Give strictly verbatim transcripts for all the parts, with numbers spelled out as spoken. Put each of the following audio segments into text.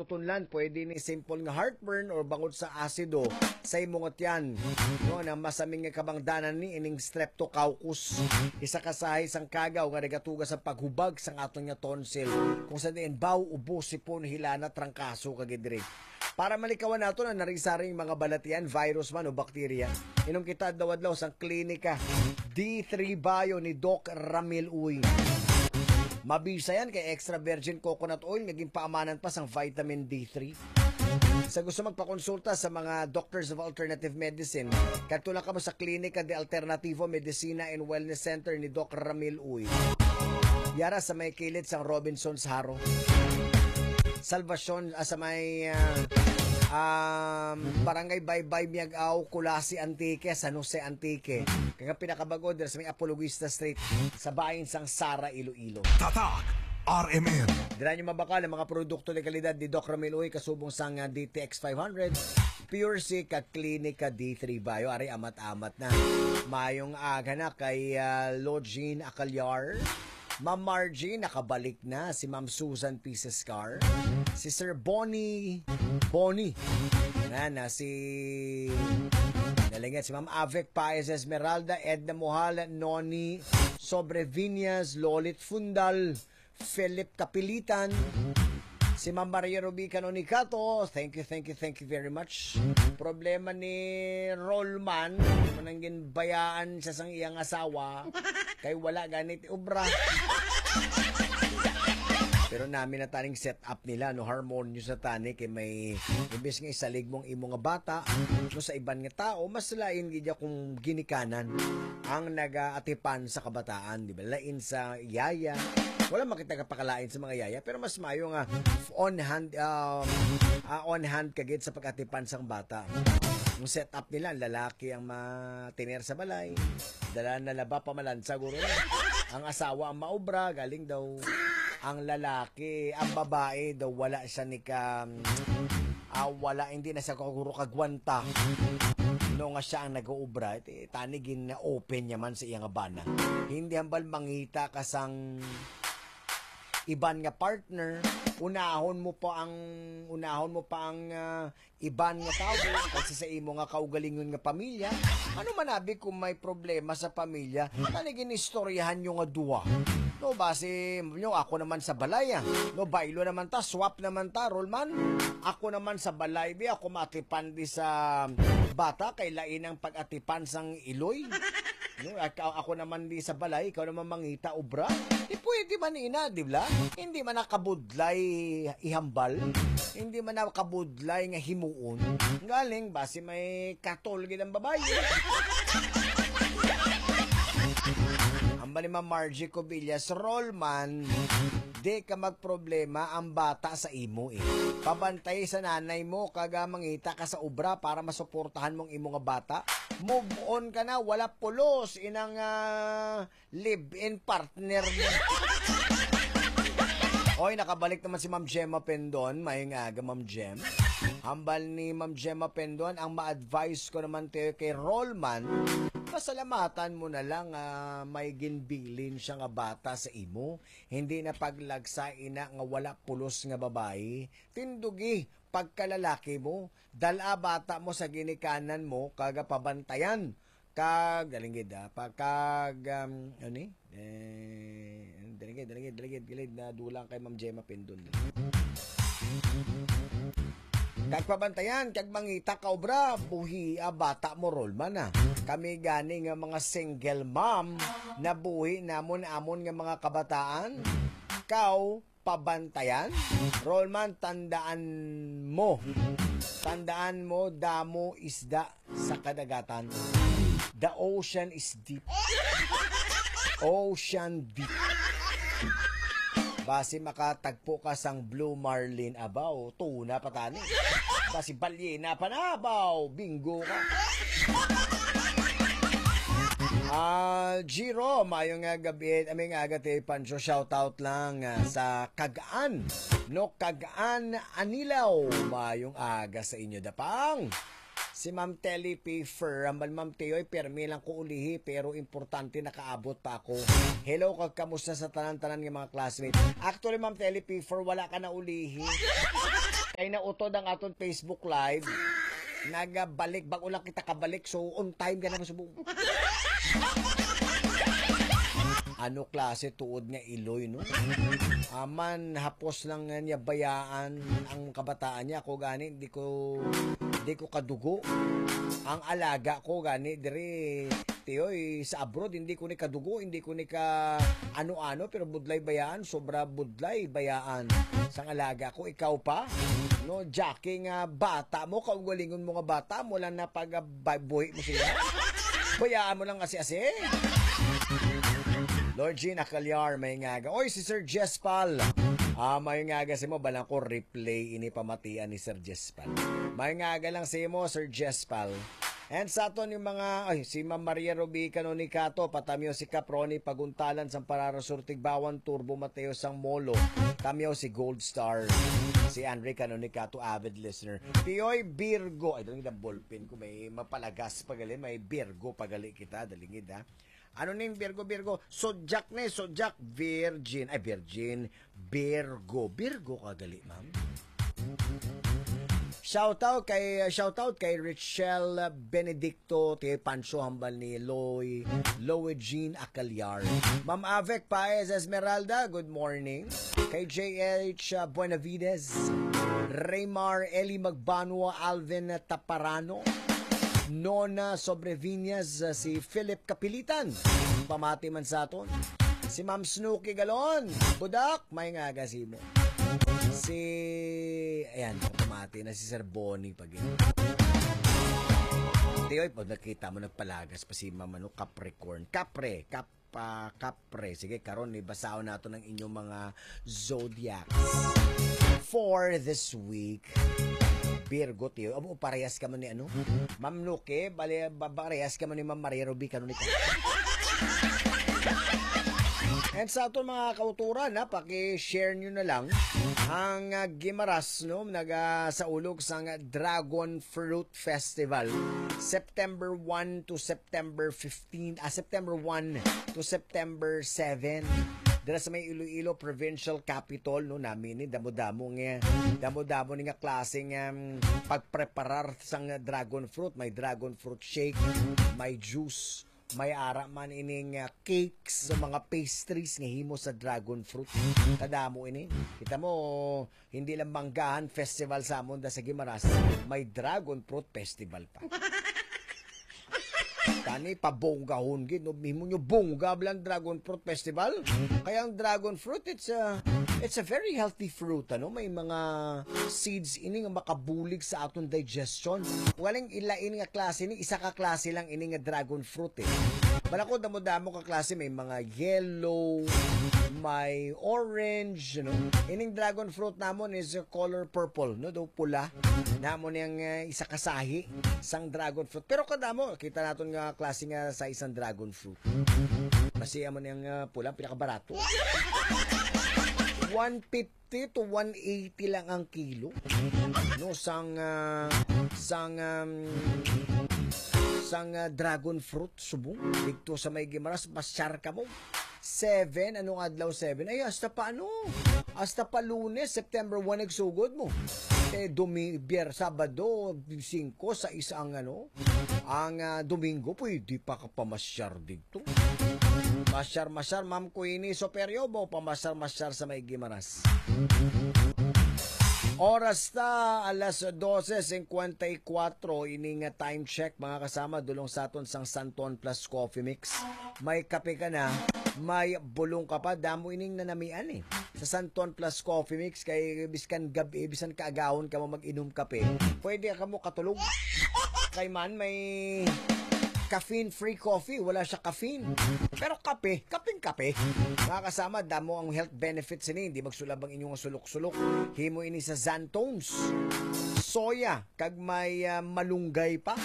Tunlan, pwede ni simple nga heartburn or bangod sa asido sa imo nga tiyan. No, na masamin nga kabangdanan ni ining streptococcus. Isa ka sahi sang kagaw nga nagatuga sa paghubag sang aton nga tonsil. Kung sa diin, baw, ubo, sipon, hilana, trangkaso, kag diri. Para malikawan nato na narisaring mga balatian, virus man o bakterya, inom kita adlaw-adlaw sang Klinika D three Bio ni Doc Ramil Uy. Mabisa yan kay extra virgin coconut oil nga ginpaamanan pa sang vitamin D three. Sa gusto magpakonsulta sa mga doctors of alternative medicine, kadto lang kamo sa Klinika de Alternativo Medicina and Wellness Center ni Doc Ramil Uy. Yara sa may kilid sang Robinson's Haro. Salvacion, ah, sa may, ah, um, Barangay Baybay, Miag-ao, Culasi, Antique, San Jose, Antique. Kag ang pinakabag-o dira sa may Apologista Street, sa bahin sang Sara, Iloilo. Tatak R M N. Dira nyo mabakal ang mga produkto de kalidad ni Doc Ramil Uy, kasubong sang, ah, D T X five hundred, Pure C, kag Klinika D three Bio. Ari, amat-amat na. Mayong aga na kay, ah, Login Acalyar. Ma'am Margie, nakabalik na. Si Ma'am Susan P. Siscar. Si Sir Bonnie. Bonnie. Na, na si... Nalingit. Si Ma'am Avec Paez Esmeralda, Edna Muhala, Noni Sobreviñas, Lolit Fundal, Philip Kapilitan, si Ma'am Maria Ruby Canonicato. Thank you, thank you, thank you very much. Problema ni Rollman, manang ginbayaan siya sang iyang asawa, kay wala ganit obra. Pero nami na taning set up nila, no, harmonious na tani, kay may imbes nga isalig mong imo nga bata, no, sa iban nga tao, mas lain gid kung ginikanan ang nagaatipan sa kabataan, di ba? Lain sa yaya. Wala makita ka pakalain sa mga yaya, pero mas mayo nga on hand, um, ah, on hand ka gid sa pag-atipan sang bata. Ang set up nila, ang lalaki ang matiner sa balay, dala na laba, pamalansa, guro na. Ang asawa ang maobra, galing daw. Ang lalaki, ang babae daw, wala siya ni ka, ah, wala, hindi na siya kaguro kagwanta. No, nga siya ang nag-uubra, ti-, tani gin-open niya man sa iya nga bana. Hindi hambal mangita ka sang iban nga partner, unahon mo pa ang, unahon mo pa ang, ah, iban nga tawo kaysa sa imo nga kaugalingon nga pamilya. Ano man abi kung may problema sa pamilya, tani ginistoryahan nyo nga duha. No, basi, no, ako naman sa balay, ah. No, baylo naman ta, swap naman ta, Rollman. Ako naman sa balay, bi, ako maatipan di sa bata, kay lain ang pag-atipan sang iloy. No, ak-, ako naman di sa balay, ikaw naman mangita obra. Di pwede man ina, di ba? Hindi man nakabudlay ihambal. Hindi man nakabudlay nga himuon. Galing, basi may katol gid ang babayi. Ang bali, Ma'am Margie Cobillas, Rollman, di ka magproblema ang bata sa imo, eh. Pabantay sa nanay mo, kag, ah, mangita ka sa obra para masuportahan mong imo nga bata. Move on ka na, wala pulos inang, ah, live-in partner mo. Oy, nakabalik naman si Ma'am Gemma Pendon. Mayong aga, Ma'am Gem. Hambal ni Ma'am Gemma Pendon, ang ma-advise ko naman tayo kay Rollman, pasalamatan mo na lang, ah, may ginbilin siya nga bata sa imo. Hindi na paglagsa ina nga wala pulos nga babayi. Tindugi pagkalalaki mo. Dala bata mo sa ginikanan mo, kag pabantayan. Kag, dalinggid, ah, pa, kag, um, ano ni? Eh, dalinggid, dalinggid, dalinggid, gilid na dulang kay Ma'am Gemma Pindon. Kag pabantayan, kag mangita ka obra, buhi, ah, bata mo, Rollman, ah. Kami gani nga mga single mom, nabuhi namon amon nga mga kabataan. Kaw, pabantayan. Rollman, tandaan mo. Tandaan mo, damo isda sa kadagatan. The ocean is deep. Ocean deep. Basi makatagpo ka sang blue marlin, abaw, tuna pa tani. Basi balyena pa na, abaw, bingo ka. Ah, Jiro, mayo nga gabi, aming aga ti Pancho, shout out lang, ah, sa Kagaan, no, Kagaan Anilaw. Mayong aga sa inyo, Dapang. Si Ma'am Telly P. Fur, ang Ma'am Teoy, permi lang ko ulihi, pero importante nakaabot pa ako. Hello, kag kamusta sa tanan-tanan nga mga classmates? Actually, Ma'am Telly P. Fur, wala ka na ulihi. Nautod ang aton Facebook Live. Nagabalik, bago lang kita kabalik. So, on time ka na subong. Ano klase tuod nga iloy, no? Aman, hapos lang nga niya bayaan ang kabataan niya. Ako gani, di ko, di ko kadugo. Ang alaga ko gani, diri, tiyoy, sa abroad, hindi ko ni kadugo, hindi ko ni ka ano-ano, pero budlay bayaan, sobra budlay bayaan. Sang alaga ko, ikaw pa? No, Jackie nga bata mo, kaugalingon mo nga bata mo lang na pag ah, ba- buhi mo siya. Bayaan mo lang asi-asi. Lord Jean Acalyar, may ngaga. Oy, si Sir Jespal. Ah, may ngaga si mo, balang ko replay ini pamatian ni Sir Jespal. May ngaga lang si mo, Sir Jespal. And sa aton yung mga, ay, si Ma'am Maria Ruby Canonicato, patamyo si Caproni, paguntalan sang Parara Sur Tigbawan, Turbo Mateo sang Molo, tamyo si Gold Star, si Andre Canonicato, avid listener. Pioy Virgo, ay, daling ang ballpen ko, may mapalagas pagali, may Virgo pagali kita, dalingid ha. Ano ning Virgo, Virgo? Sudyak ni, sudyak, virgin, ay, virgin, Virgo. Virgo ka gali, ma'am. Shout out kay shout out kay Richelle Benedicto, kay Pancho hambal ni Loy, Loy Jean Acalyar. Ma'am Avec Paez Esmeralda, good morning. Kay J H Buenavides, Raymar Eli Magbanua, Alvin Taparano, Nona Sobreviñas, si Philip Kapilitan. Pamati man sa aton. Si Ma'am Snooki Galon, Budak, may nga aga si mo. Si, ayan, pamati na si Sir Bonnie pag Tiyoy, pag nakita mo, nagpalagas pa si Ma'am, ano, Capricorn. Capre, Cap, ah, Capre. Sige, karon, ibasahon nato ng inyong mga zodiacs for this week. Virgo, tiyo. Abo, parehas ka man ni ano? Ma'am Nuki, bali, ba, parehas ka man ni Ma'am Maria Ruby, kanunay ka. And sa aton mga kauturan, ha, paki-share nyo na lang ang ah, Gimaras, no, naga sa ulog sang Dragon Fruit Festival, September one to September fifteen, ah, September one to September seven. Dira sa may Iloilo Provincial Capitol, no, nami ni damo-damo nga damo-damo ni nga klase nga um, pagpreparar sang dragon fruit, may dragon fruit shake, may juice, may ara man ining uh, cakes, sa mga pastries nga himo sa dragon fruit. Kadamo ini. Kita mo, hindi lang manggahan festival sa amon da sa Guimaras, may dragon fruit festival pa. Tani, pabonggahon gid, no? Himo nyo bongga lang dragon fruit festival. Kaya ang dragon fruit, it's a, it's a very healthy fruit, ano? May mga seeds ini nga makabulig sa aton digestion. Walang ilain nga klase ni, isa ka klase lang ini nga dragon fruit, eh. Bala ko, damo-damo ka klase, may mga yellow, may orange, you know. Ining dragon fruit namon is color purple, no? Daw pula. Namo niyang uh, isa kasahi sang dragon fruit. Pero kadamo, kita naton nga klase nga sa isang dragon fruit. Kasi amo niyang uh, pula, pinakabarato. One fifty to one eighty lang ang kilo. No, sang uh, sang um, sang uh, dragon fruit subong dito sa may Gimaras, masyar ka mo. Seven, anong adlaw seven? Ay, hasta pa ano? Hasta pa Lunes, September one, nagsugod mo. Eh, Dumi, Bier, Sabado, singko, sa isang ano, ang ah, Domingo, pwede pa ka pamasyar dito. Masyar-masyar, Ma'am Queenie Soperio, bo, pamasyar-masyar sa may Gimaras. Oras ta, alas dose cincuenta y cuatro, ini nga time check, mga kasama, dulong sa aton sang Santon Plus Coffee Mix. May kape ka na, may bulong ka pa, damo ining nanamian eh. Sa Santon Plus Coffee Mix, kay biskan gabi, bisan kaagahon ka mo mag-inom kape, pwede ka mo katulog. Kay man, may caffeine-free coffee, wala siya caffeine. Pero kape, kaping kape. Mga kasama, damo ang health benefits ini. Hindi magsulab ang inyong sulok-sulok. Himo ini sa Xanthones, soya, kag may ah, malunggay pa.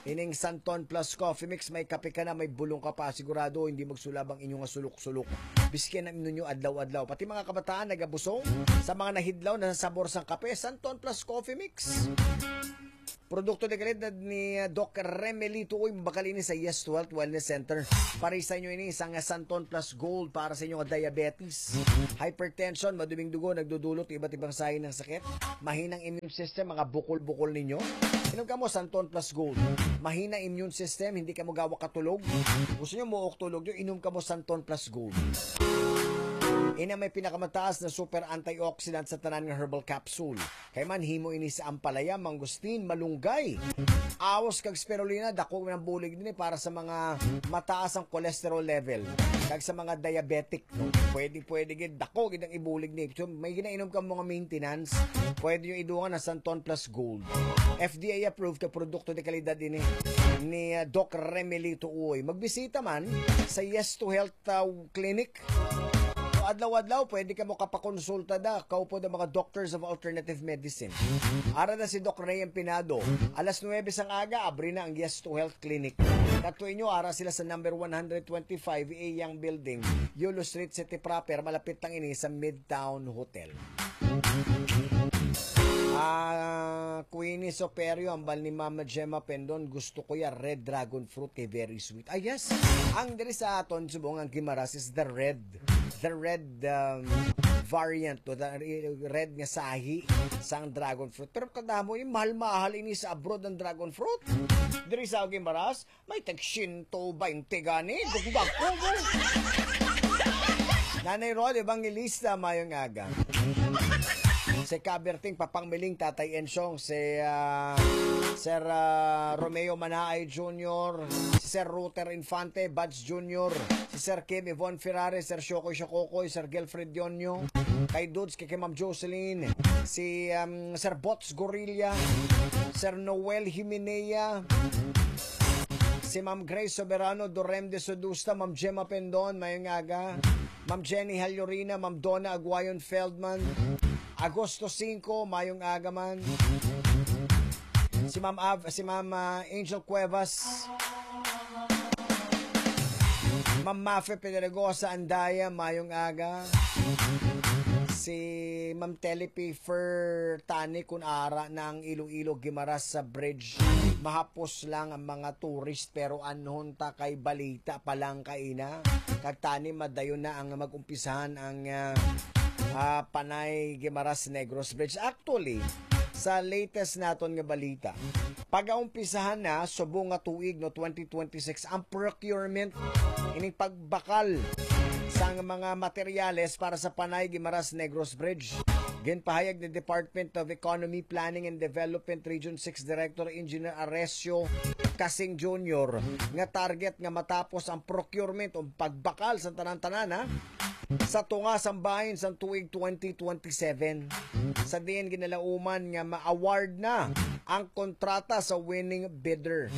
Ining Santon Plus Coffee Mix, may kape ka na, may bulong ka pa. Sigurado, hindi magsulab ang inyong sulok-sulok. Biskin ang inyo adlaw-adlaw. Pati mga kabataan, nagabusong sa mga nahidlaw na sa sabor sang kape, Santon Plus Coffee Mix. Produkto de kalidad ni, uh, Doc Remeli Tuoy, mabakal ini sa Yes to Health Wellness Center. Para sa inyo ini, isang Santon Plus Gold para sa inyo nga diabetes, hypertension, maduming dugo, nagdudulot iba't ibang sahi ng sakit, mahinang immune system, mga bukol-bukol ninyo. Inom ka mo Santon Plus Gold. Mahina immune system, hindi ka magawa katulog. Gusto nyo mo tulog nyo, inom ka mo Santon Plus Gold. Ina may pinakamataas na super antioxidant sa tanan nga herbal capsule. Kay man himo ini sa ampalaya, mangustin, malunggay, awos kag spirulina, dako man ang bulig ni para sa mga mataas ang cholesterol level kag sa mga diabetic, no? Pwede, pwede gid, dako gid ang ibulig ni. So, may ginainom ka mga maintenance, pwede yung idungan ang Santon Plus Gold. F D A approved ka produkto de kalidad ini ni, uh, Doc Remeli Tuoy. Magbisita man sa Yes to Health, uh, Clinic. So, adlaw-adlaw, pwede ka mo kapakonsulta da. Kaupod ang mga doctors of alternative medicine. Ara na si Doc Ray Empinado. Alas nuwebe sang aga, abri na ang Yes to Health Clinic. Katuin nyo, ara sila sa number one hundred twenty-five A Yang Building, Yulo Street, City Proper. Malapit lang ini sa Midtown Hotel. Ah, Queenie Soperio, ambal ni Mama Gemma Pendon, gusto ko ya red dragon fruit kay very sweet. Ah, yes. Ang diri sa aton, subong ang Guimaras is the red. The red, um, variant, no? The red nga sahi sang dragon fruit. Pero kadamo, yung mahal-mahal ini sa abroad ang dragon fruit. Diri sa Guimaras, may tag siyento baynte gani. Dugdag ko mo. Nanay Rod Evangelista, mayong aga. Si Kaberting Papang Miling, Tatay Ensyong, si, ah, Sir, ah, Romeo Manaay Junior, si Sir Ruter Infante, Buds Junior, si Sir Kim Yvonne Ferrari, Sir Shokoy Shokokoy, Sir Gilfred Yonyo, kay Dudes, kay, kay Ma'am Jocelyn, si, um, Sir Bots Gorilla, Sir Noel Himenea, si Ma'am Grace Soberano, Dorem de Sodusta, Ma'am Gemma Pendon, mayong aga. Ma'am Jenny Halyorina, Ma'am Donna Aguayon Feldman, Agosto singko, mayong aga man. Si Ma'am Av-, si Ma'am, ah, Angel Cuevas. Ma'am Mafe Pedregosa Andaya, mayong aga. Si Ma'am Telepi Fer Tani, kun ara na ang Iloilo Guimaras sa bridge, mahapos lang ang mga tourist, pero anhon ta kay balita pa lang kaina. Kag tani madayon na ang mag-umpisahan ang, ah, ah, Panay Guimaras Negros Bridge. Actually, sa latest naton nga balita, pagaumpisahan na subong nga tuig, no, twenty twenty-six, ang procurement, ining pagbakal sang mga materyales para sa Panay Guimaras Negros Bridge. Ginpahayag ni Department of Economy, Planning and Development Region six Director Engineer Aresio Casing Junior nga target nga matapos ang procurement o pagbakal sa tanan-tanan, ha, sa tunga sang bahin sang tuig twenty twenty-seven, sa diin ginalauman nga ma-award na ang kontrata sa winning bidder.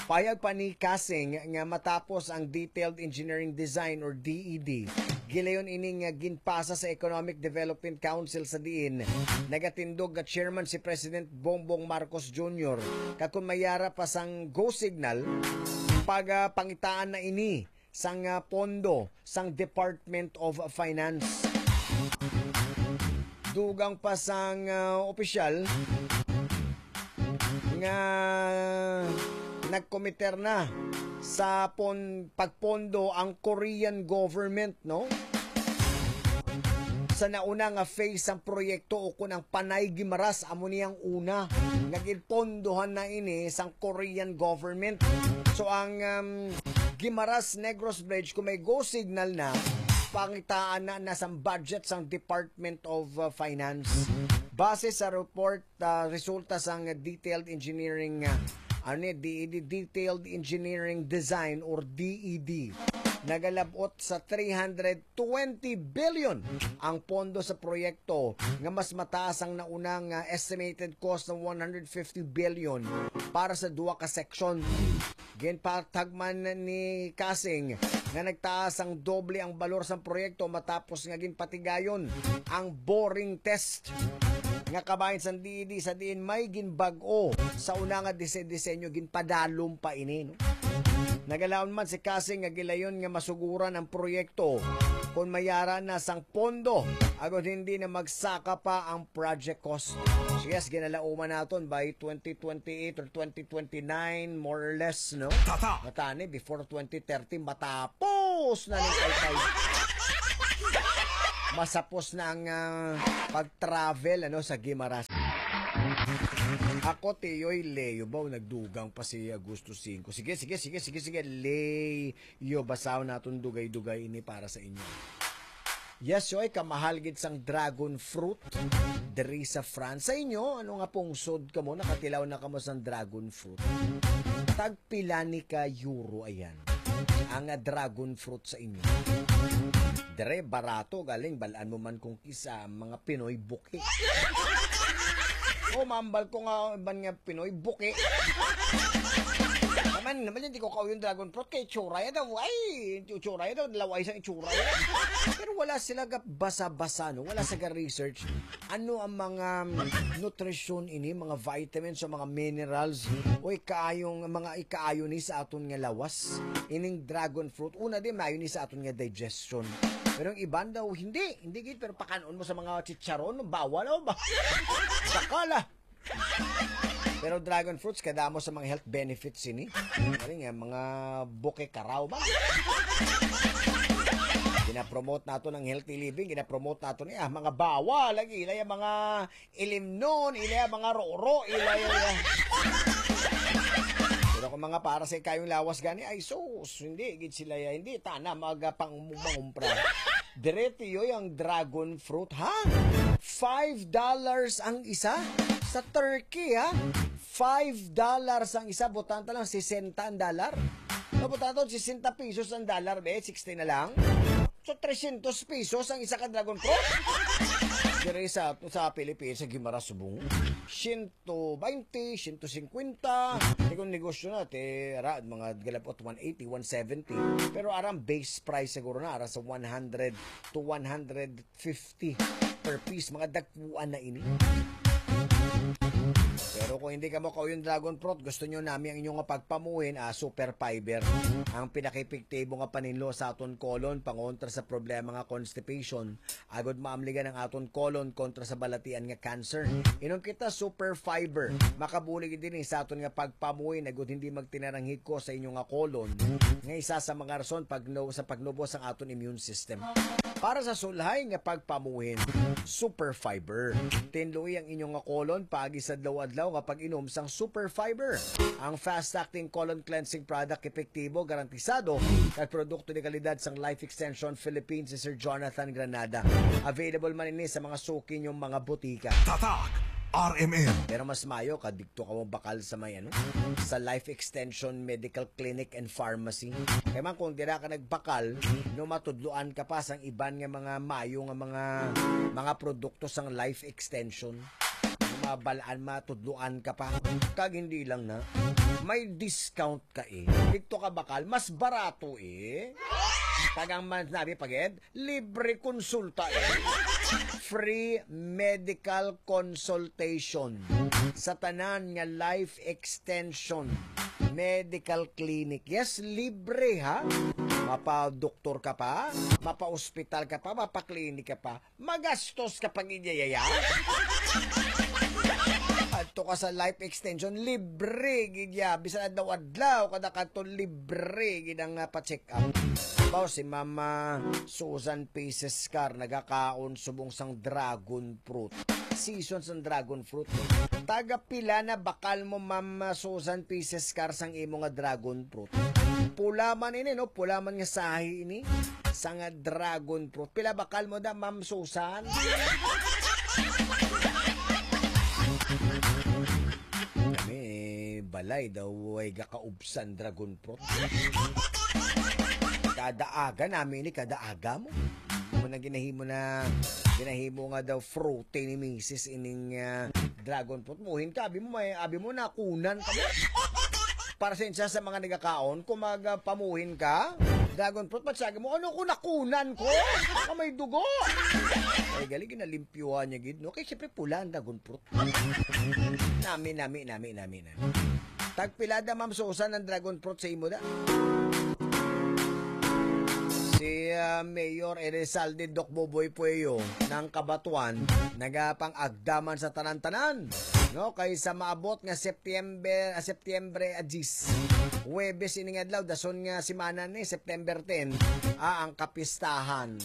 Payag pa ni Casing nga matapos ang Detailed Engineering Design or D E D, gilayon ini nga ginpasa sa Economic Development Council, sa diin nagatindog nga chairman si President Bongbong Marcos Junior, kag kon mayara pa sang go signal, pagapangitaan na ini sang, ah, pondo sang Department of Finance. Dugang pa sang, ah, opisyal nga nagkomiter na sa pon-, pagpondo ang Korean government, no? Sa nauna nga phase sang proyekto, o kun ang Panay Guimaras, amo ni ang una nga ginpondohan na ini sang Korean government. So ang, um, Guimaras Negros Bridge, kung may go signal na, pangitaan na, na sang budget sang Department of, uh, Finance. Base sa report, uh, resulta sang detailed engineering, uh, ano ni, D E D, detailed engineering design or D E D, nagalabot sa three hundred twenty billion ang pondo sa proyekto, nga mas mataas ang nauna nga estimated cost ng one hundred fifty billion para sa duha ka section. Ginpatagman ni Casing nga nagtaas ang doble ang balor sang proyekto matapos nga ginpatigayon ang boring test nga kabahin sang D E D, sa diin may ginbag-o sa una nga dise-, disenyo, ginpadalom pa ini, no? Nagalaom man si Casing nga gilayon nga masuguran ang proyekto Kung mayara na sang pondo, agod hindi na magsaka pa ang project cost. So yes, ginalauman naton by twenty twenty-eight or twenty twenty-nine, more or less, no? Tata! Matani, before twenty thirty, matapos na ning taytay. Masapos na ang, ah, pag-travel, ano, sa Guimaras. Ako, Tiyoy, Leo, ba, nagdugang pa si Agosto singko. Sige, sige, sige, sige, sige, Leo, basahon naton dugay-dugay ini para sa inyo. Yes, oy, kamahal gid sang dragon fruit diri sa France. Sa inyo, ano nga pungsod kamo, nakatilaw na kamo sang dragon fruit? Tagpila ni ka euro, ayan, ang, ah, dragon fruit sa inyo? Dire, barato, galing, balaan mo man kung kisa mga Pinoy buki. O, mambal ko nga, ban nga Pinoy buki. Naman, naman, hindi ko kauyon dragon fruit kay tsura ya daw. Ay, tsura ya daw, laway sa itsura ya. Pero wala sila ga basa-basa, no? Wala sa ga research. Ano ang mga, um, nutrisyon ini, mga vitamins o mga minerals o ikaayong, mga ikaayo ni sa aton nga lawas? Ining dragon fruit, una din, maayo ni sa aton nga digestion. Pero ang iban daw, hindi. Hindi gid, pero pakanon mo sa mga chicharon, bawal, oh, ba? Bakala. Pero dragon fruits, kadamo sa mga health benefits ini. Ano nga, mga buke karaw ba? Ginapromote nato ng healthy living, ginapromote nato ni, ah, mga bawal lagi, ilay ang mga ilimnon, ilay ang mga roro, ilay ang... Pero kung mga para sa ikayong lawas gani, ay sus, hindi gid sila ya, hindi tana magapang mangumpra. Dire, Tiyoy, ang dragon fruit, ha? Five dollars ang isa sa Turkey, ha? Five dollars ang isa, butang ta lang, sesenta ang dollar. Mabutang ta, sesenta pesos ang dollar, be, sixty na lang. So, trescientos pesos ang isa ka dragon fruit. Dire sa, sa Pilipinas, sa Guimaras, Subong, siyento baynte, siyento singkwenta. Di kung negosyo na, te, ara, mga galabot, one eighty, one seventy. Pero arang base price siguro na, ara sa one hundred to one hundred fifty per piece. Mga dagkuan na ini. Pero kung hindi kamo kauyon dragon fruit, gusto nyo nami ang inyong nga pagpamuhin, ah, super fiber. Ang pinakaepektibo nga paninlo sa aton colon, pangontra sa problema nga constipation, agod maamligan ang aton colon kontra sa balatian nga cancer. Inom kita super fiber. Makabulig din sa aton nga pagpamuhin, agod hindi magtinarang hiko sa inyo nga colon, nga isa sa mga rason pagno-, sa pagnubo sang aton immune system. Para sa sulhay nga pagpamuhin, super fiber. Tinloi ang inyo nga colon paagi sa adlaw-adlaw nga pag-inom sang super fiber. Ang fast-acting colon cleansing product, epektibo, garantisado, kag produkto ni kalidad sang Life Extension Philippines si Sir Jonathan Granada. Available man ini sa mga suki ninyong mga botika. Tatak R M M. Pero mas mayo ka dito ka mo bakal sa may ano, sa Life Extension Medical Clinic and Pharmacy. Kay man kung dira ka nagbakal, no, matudloan ka pa sang iban nga mga mayo nga mga, mga produkto sang Life Extension. Mabalaan, matudloan ka pa. Kag hindi lang na, may discount ka eh. Dito ka bakal, mas barato eh. Kag ang man sinabi pagid, libre konsulta eh. Free medical consultation sa tanan nga Life Extension Medical Clinic. Yes, libre ha. Mapa-doktor ka pa, mapa-ospital ka pa, mapa-clinic ka pa. Magastos ka pag inyayaya. Adto ka sa Life Extension, libre gid ya. Bisan adlaw-adlaw, kada kadto libre gid ang, ah, pa-check up. Baw si Mama Susan P. Sescar nagakaon subong sang dragon fruit. Season sang dragon fruit. Taga pila na bakal mo, Mama Susan P. Sescar, sang imo nga dragon fruit? Pula man ini, no? Pula man nga sahi ini. Sang dragon fruit. Pila bakal mo da, Ma'am Susan? Kami, balay daw ay gakaubsan dragon fruit. Kada aga namin ni, kada aga mo. Mo na ginahimo na, ginahimo nga daw fruity ni misis ining, ah, dragon fruit. Muhin ka, abi mo, may, abi mo, nakunan ka mo. Para sa insa sa mga nagakaon, kung magapamuhin ka, dragon fruit, matsagi mo, "Ano ko nakunan ko? Nga may dugo." Ay, gali, ginalimpyuhan niya gid, no? Kay siyempre pula ang dragon fruit. Nami, nami, nami, nami, nami. Tagpila da, Ma'am Susan, ang dragon fruit sa imo da? Si ah, Mayor Elizalde Doc Boboy Pueyo ng Kabatuan, nagapang-agdaman sa tanan-tanan, no? Kay sa maabot nga September, ah, September, ah, diyes, Huwebes ini nga adlaw, dason nga semana ni September ten, ah, ang kapistahan,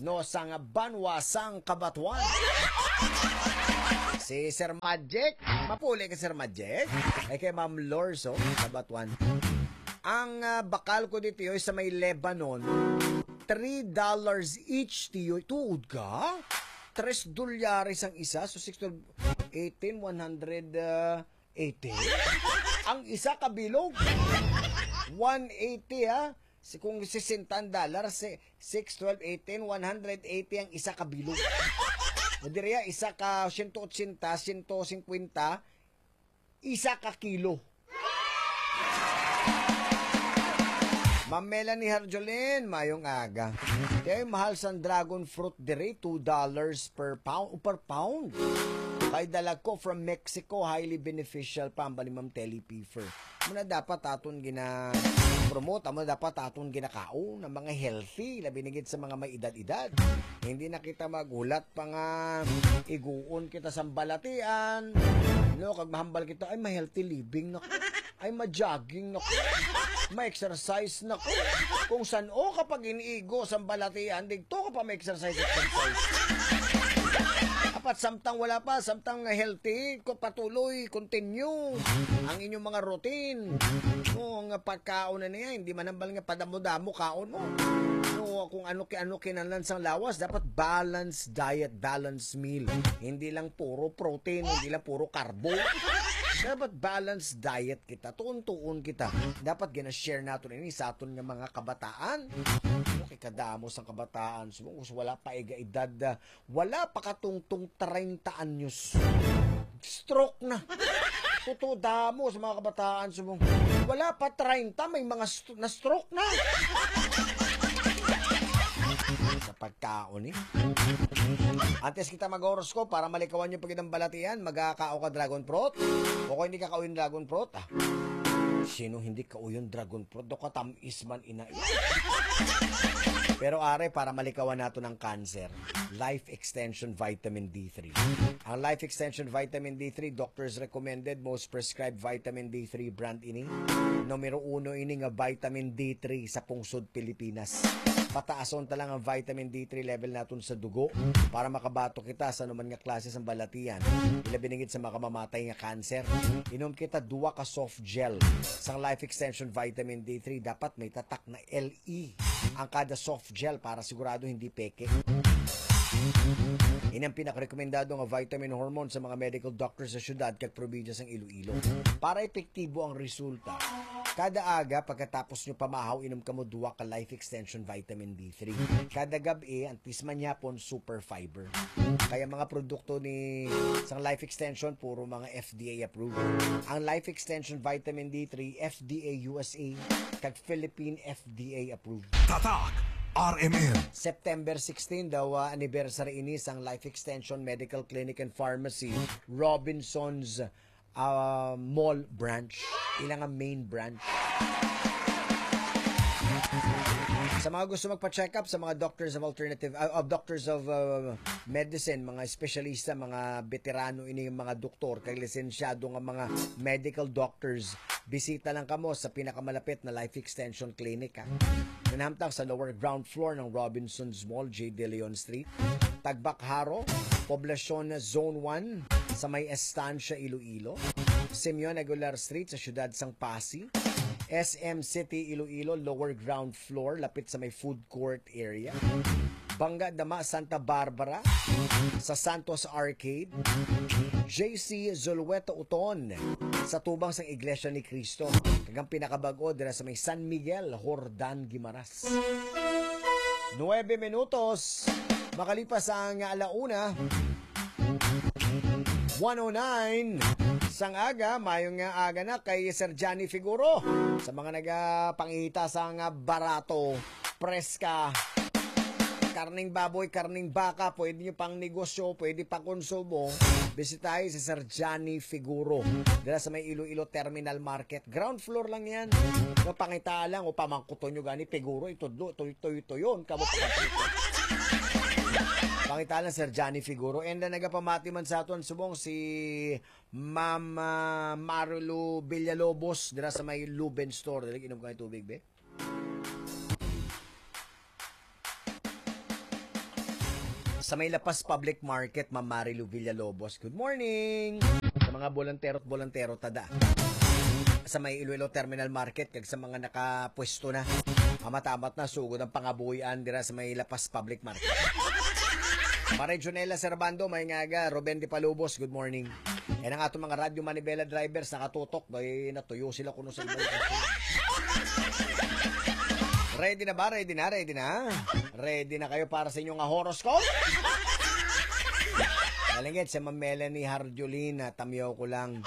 no, sang banwa sang Kabatuan. Si Sir Magic, mapuli ka, Sir Magic. Ay, kay Ma'am Lorso, Kabatuan. Ang, ah, bakal ko dito, yoy, sa may Lebanon, three dollars each, tiyoy. Tuod ka? Tres dolyares ang isa, so six, twelve, eighteen, one hundred, ah, eighty? Ang isa ka bilog. One eighty, ha? Si, kung sesenta ang dollar, si six, twelve, eighteen, one hundred eighty ang isa ka bilog. O diri, ah, isa ka siyento otsenta, siyento singkwenta, isa ka kilo. Ma'am Melanie Harjolin, mayong aga. Kay mahal sang dragon fruit diri, two dollars per pound, per pound. Kay dalag ko from Mexico, highly beneficial pa, ang bali, Ma'am Telly Piefer. Muna dapat aton gina-promote, amo dapat aton ginakaon ang mga healthy, labi na gid sa mga may edad-edad. Hindi na kita maghulat pa nga iguon kita sa balatian. No, kag mahambal kita, ay, ma-healthy living na ko. Ay, ma-jogging na ko. Ma-exercise na ko. Kung san-o ka pag iniigo sa balatian, digto ka pa ma-exercise, exercise. Apat, samtang wala pa, samtang healthy, ko patuloy, continue ang inyong mga routine. No, nga pagkaon na niya, hindi man hambal nga padamo-damo kaon mo. No, kung ano ki-, ano kinahanglan sang lawas, dapat balanced diet, balanced meal. Hindi lang puro protein, hindi lang puro carbo. Dapat balanced diet kita, tuon-tuon kita. Dapat gina-share naton ini sa aton nga mga kabataan. Okay, kadamo sang kabataan, subong wala pa iga edad, ah, wala pa katungtong treinta anyos, stroke na. Tuto, damo sa mga kabataan, subong wala pa treinta, may mga st-, na-stroke na. Sa pagkaon, eh. Antes kita mag-horoscope, para malikawan yung pagkitang balatian, magkakao ka dragon fruit? O kung hindi ka kauyon dragon fruit, ah, sino hindi kauyon dragon fruit? Do ka tam-, Isman ina. Pero are, para malikawan nato ng cancer, Life Extension Vitamin D three. Ang Life Extension Vitamin D three, doctors recommended, most prescribed vitamin D three brand ini. Numero uno ini nga vitamin D three sa pungsod Pilipinas. Pataason ta lang ang vitamin D three level naton sa dugo para makabato kita sa anuman nga klase sang balatian. Ilabi na gid sa makamamatay nga cancer. Inom kita duwa ka soft gel sang Life Extension Vitamin D three. Dapat may tatak na L E ang kada soft gel para sigurado hindi peke. Ini ang pinakarekomendado nga vitamin hormone sa mga medical doctors sa syudad kag probinsya sang Iloilo. Para epektibo ang resulta, kada aga pagkatapos nyo pamahaw, inom kamo duwa ka Life Extension Vitamin D three. Kada gab-i, ang tisman yapon, super fiber. Kaya mga produkto ni sang Life Extension, puro mga F D A approved. Ang Life Extension Vitamin D three, F D A U S A, kag Philippine F D A approved. Tatak R M N. September sixteen daw, ah, anniversary ini sang Life Extension Medical Clinic and Pharmacy, Robinson's, ah, Mall Branch. Ila nga main branch. Sa mga gusto magpa-check up, sa mga doctors of alternative, ah, of doctors of, ah, medicine, mga espesyalista, mga veterano ini, mga doktor, kay lisensyado nga mga medical doctors, bisita lang kamo sa pinakamalapit na Life Extension Clinic, ha. Nanamtang sa lower ground floor ng Robinson's Mall, J. De Leon Street, Tagbak Jaro, Poblacion Zone one, sa may Estancia, Iloilo, Simeon Aguilar Street sa siyudad sang Passi, S M City, Iloilo, lower ground floor, lapit sa may food court area. Bangga Dama, Santa Barbara, sa Santos Arcade. J C Zulueta Uton, sa tubang sang Iglesia ni Cristo. Kag ang pinakabag-o dira sa may San Miguel, Jordan, Guimaras. Nuebe minutos makalipas ang ala una. One oh nine sang aga, mayong nga aga na kay Sir Johnny Figuro. Sa mga nagapangita sang barato, preska, karning baboy, karning baka, pwede nyo pang negosyo, pwede pang konsumo, bisitahin si Sir Johnny Figuro. Dala sa may Iloilo Terminal Market. Ground floor lang yan. No, pangita lang, o pamangkuton nyo gani, Figuro, itudlo, tuy, tuy, tuyon. Kamo pa. Pangita lang, Sir Johnny Figuro. And uh, nagapamati man sa aton subong si Ma'am uh, Marilu Villalobos, dira sa may Luben Store. Dali, inom ka ng tubig, be. Sa may Lapas Public Market, Ma'am Marilu Villalobos. Good morning! Sa mga bolantero at bolantero, tada. Sa may Iloilo Terminal Market, kag sa mga nakapwesto na. Amat-amat na, sugod ang pangabuhian dira sa may Lapas Public Market. Pare Junela Servando, may ngaga. Ruben de Palubos, good morning. Yan ang atong mga radyo manibela drivers, nakatutok. Bay, natuyo sila kuno sa iba. Ready na ba? Ready na? Ready na? Ready na kayo para sa inyong horoscope? Nalingit si Ma'am Melanie Harjolin, ah, tamyaw ko lang.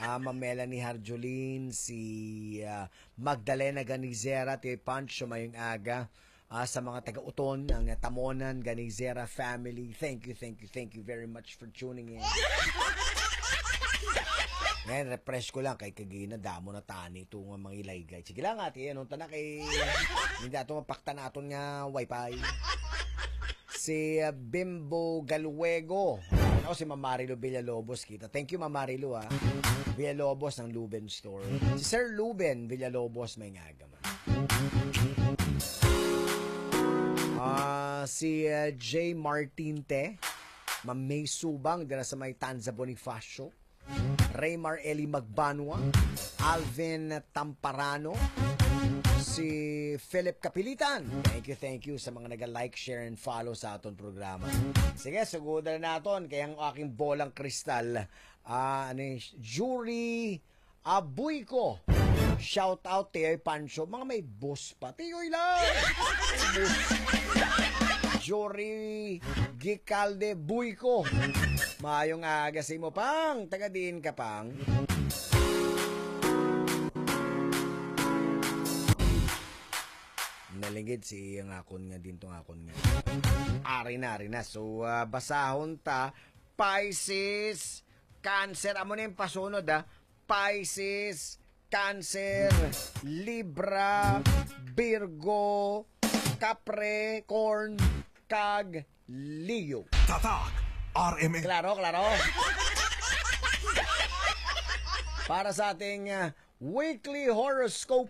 Ah, Ma'am Melanie Harjolin, si ah, Magdalena Ganizera, Tio Pancho, mayong aga. Ah, sa mga taga-Uton, ang Tamonan Ganizera family, thank you, thank you, thank you very much for tuning in. Ngayon, refresh ko lang kay kagina, damo na tani ito nga mga ilaygay. Sige lang, ate, anong tanak kay hindi ato mapakta na aton nga wifi. Si uh, Bimbo Galuego. Ano si Ma'am Marilu Villalobos kita. Thank you, Ma'am Marilu, ah. Villalobos ng Luben Store. Si Sir Luben Villalobos, may ngaga man. Ah, si uh, J Martin Te, Ma'am May Subang, dira sa may Tanza Bonifacio. Raymar Eli Magbanwa, Alvin Tamparano, si Philip Kapilitan. Thank you, thank you sa mga naga-like, share, and follow sa aton programa. Sige, sugudan na naton kay ang aking bolang kristal, ah, ano yun, Jury Abuy ko. Shout out, Tiyoy Pancho. Mga may boss pa. Tiyoy lang! May boss. Jory Gicalde Buy ko. Maayong aga sa imo, Pang. Taga diin ka, Pang? Nalingid si iyang akon nga din tong akon nga. Ari na, ari na. So, ah, basahon ta, Pisces, Cancer. Amo na yung pasunod, ah. Pisces, Cancer, Libra, Virgo, Capricorn, kag Leo. Tatak R M N. Klaro, klaro. Para sa ating ah, weekly horoscope,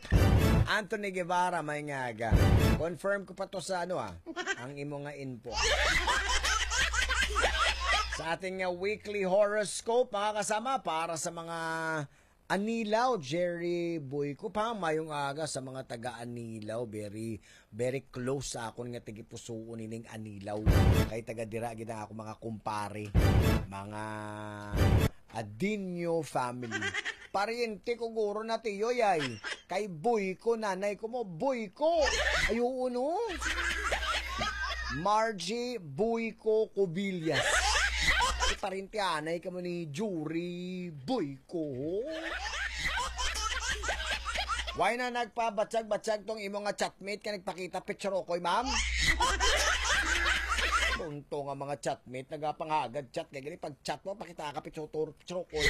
Anthony Guevara, may ngaga. Confirm ko pa to sa ano ah, ang imo nga info. Sa ating nga weekly horoscope, mga kasama, para sa mga Anilaw, Jerry Boyco, pa mayong aga sa mga taga Anilaw. Very, very close sa akon nga tagipusuon ining Anilaw. Kay taga dira gid ang ako mga kumpare, mga Adinyo family. Pariente ko guro na tiyoy ay. Kay Boyco, nanay ko mo, Boyco. Ay, oo, no? Margie Boyco Cubillas. Si pariente anay ka mo ni Jury Boyco. Why na nagpabatsag-batsag tong imo nga chatmate ka nagpakita picture okoy, ma'am? Tunto nga mga chatmate, nagapangagad chat. Kaya gani, pag chat mo, pakita ka picture, picture okoy.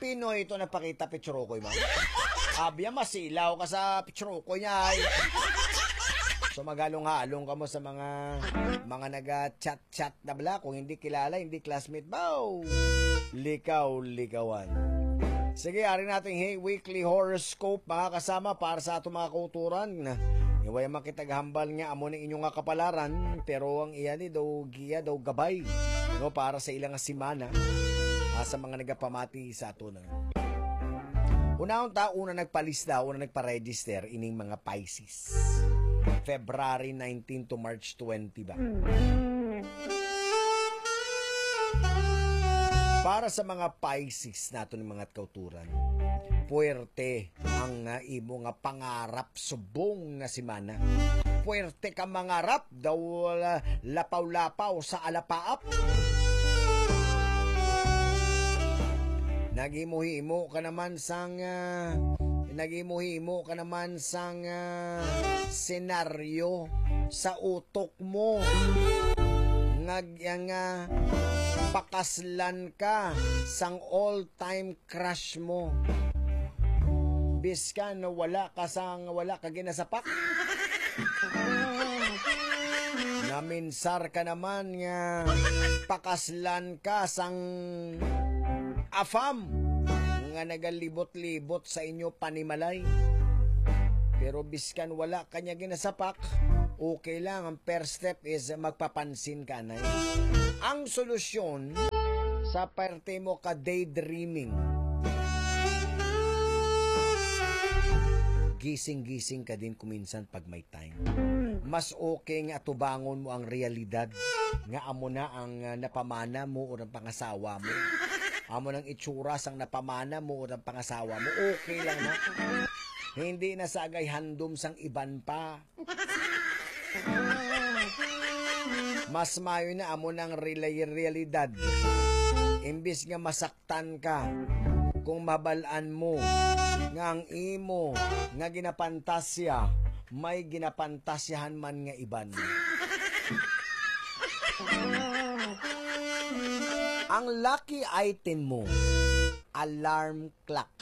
Pinoy ito nagpakita picture okoy, ma'am. Abya, masilaw ka sa picture okoy niya, ay. So, maghalong-halong ka mo sa mga, mga naga-chat chat na bala, kung hindi kilala, hindi classmate, baw! Likaw-likawan. Sige, ari nating hey, weekly horoscope, mga kasama, para sa atong mga kauturan. Iway makitaghambal nga amo ni inyo nga kapalaran, pero ang iya ni daw giya daw gabay, no, para sa ilang semana, ah, sa mga nagapamati sa ato na. Unahon ta, una nagpalista, una nagpa-register ining mga Pisces. February nineteen to March twenty ba? Para sa mga Pisces nato ni mga kauturan, puwerte ang ah, imo nga pangarap subong nga semana. Puwerte ka mangarap, daw ah, lapaw-lapaw sa alapaap. Naghimo-himo ka naman sang ah, Naghimo-himo ka naman sang, ah, senaryo sa utok mo nga, nga pakaslan ka sang all-time crush mo. Biskan wala ka sang, wala ka ginasapak. Naminsar ka naman nga pakaslan ka sang afam nga nagalibot-libot sa inyo panimalay. Pero biskan wala ka niya ginasapak, okay lang. Ang first step is magpapansin ka, anay. Ang solusyon sa parte mo ka daydreaming, gising-gising ka din kuminsan pag may time. Mas okay nga atubangon mo ang realidad nga amo na ang, ah, napamana mo o ang pangasawa mo. Amo nang itsura sang napamana mo o ang pangasawa mo. Okay lang na. Hindi na sagay handom sang iban pa. Mas mayo na amo nang relay realidad. Imbis nga masaktan ka kung mabal-an mo nga ang imo nga ginapantasya may ginapantasyahan man nga iban. Ang lucky item mo, alarm clock.